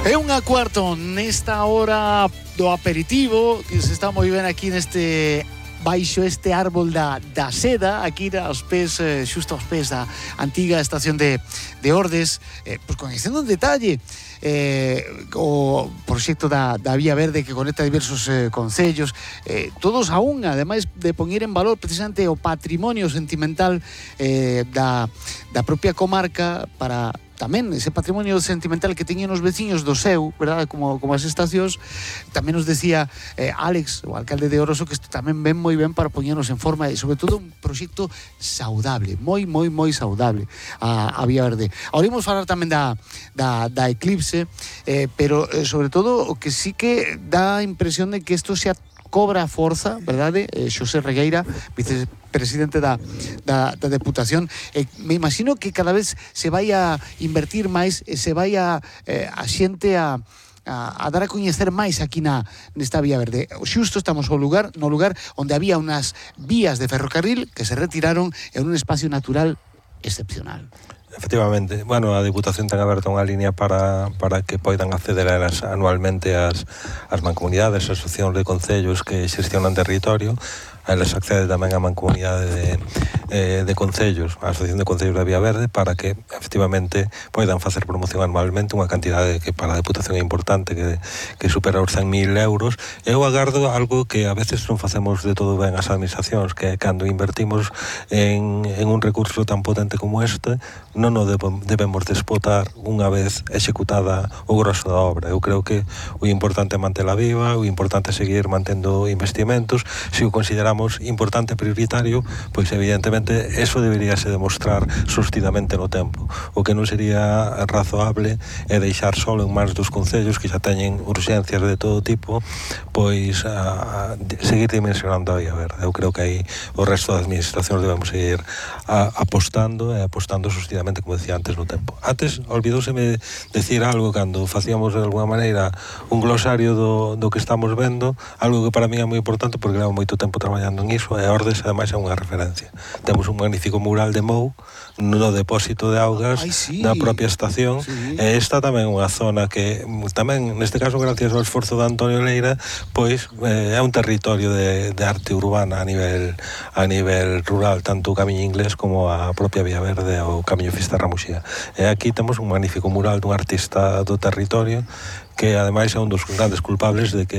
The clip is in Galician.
É unha cuarto nesta hora do aperitivo que se está moi ben aquí neste baixo este árbol da seda, aquí aos pés, xusto aos pés da antiga estación de Ordes, pois coñecendo en detalle o proxecto da Vía Verde que conecta diversos concellos, todos a unha, ademais de poñer en valor precisamente o patrimonio sentimental da propia comarca para tamén ese patrimonio sentimental que teñen os veciños do seu, verdad, como as estacións. Tamén nos decía Alex, o alcalde de Oroso, que isto tamén ven moi ben para poñernos en forma e sobre todo un proxecto saudable, moi saudable a Vía Verde. Ahora imos falar tamén da Eclipse, pero sobre todo o que sí que dá a impresión de que isto xa cobra forza, verdade? Xosé Regueira, vicepresidente da Deputación, me imagino que cada vez se vai a invertir máis e se vai a xente a dar a coñecer máis aquí nesta Vía Verde. Xusto estamos no lugar onde había unhas vías de ferrocarril que se retiraron en un espacio natural excepcional. Efectivamente, bueno, a Deputación ten aberta unha línea para que poidan acceder a elas anualmente as mancomunidades, as asociacións de concellos que xestionan territorio. A elas accede tamén a mancomunidade de concellos, a Asociación de Concellos da Vía Verde, para que efectivamente poidan facer promoción anualmente unha cantidade que para a Deputación é importante, que supera os 100.000 euros. Eu agardo algo que a veces non facemos de todo ben as administracións, que é cando invertimos en un recurso tan potente como este, non o debemos despotar unha vez executada o grosso da obra. Eu creo que o importante é mantela viva, o importante é seguir mantendo investimentos. Se o consideramos importante e prioritario, pois evidentemente eso deberíase demostrar sostidamente no tempo. O que non sería razoable é deixar solo en mans dos concellos que xa teñen urxencias de todo tipo, pois a seguir dimensionando a Vía Verde. Eu creo que aí o resto das administracións debemos seguir apostando sostidamente, como decía antes, no tempo. Antes, olvidouseme decir algo cando facíamos de alguna maneira un glosario do que estamos vendo, algo que para mí é moi importante porque levo moito tempo traballando en iso, e Ordes ademais é unha referencia. Temos un magnífico mural de Mou no depósito de augas da propia estación, e esta tamén é unha zona que tamén, neste caso, gracias ao esforzo de Antonio Leira, pois é un territorio de arte urbana a nivel rural, tanto o Camiño Inglés como a propia Vía Verde ou o Camiño Fisterra Muxía. E aquí temos un magnífico mural dun artista do territorio que ademais é un dos grandes culpables de que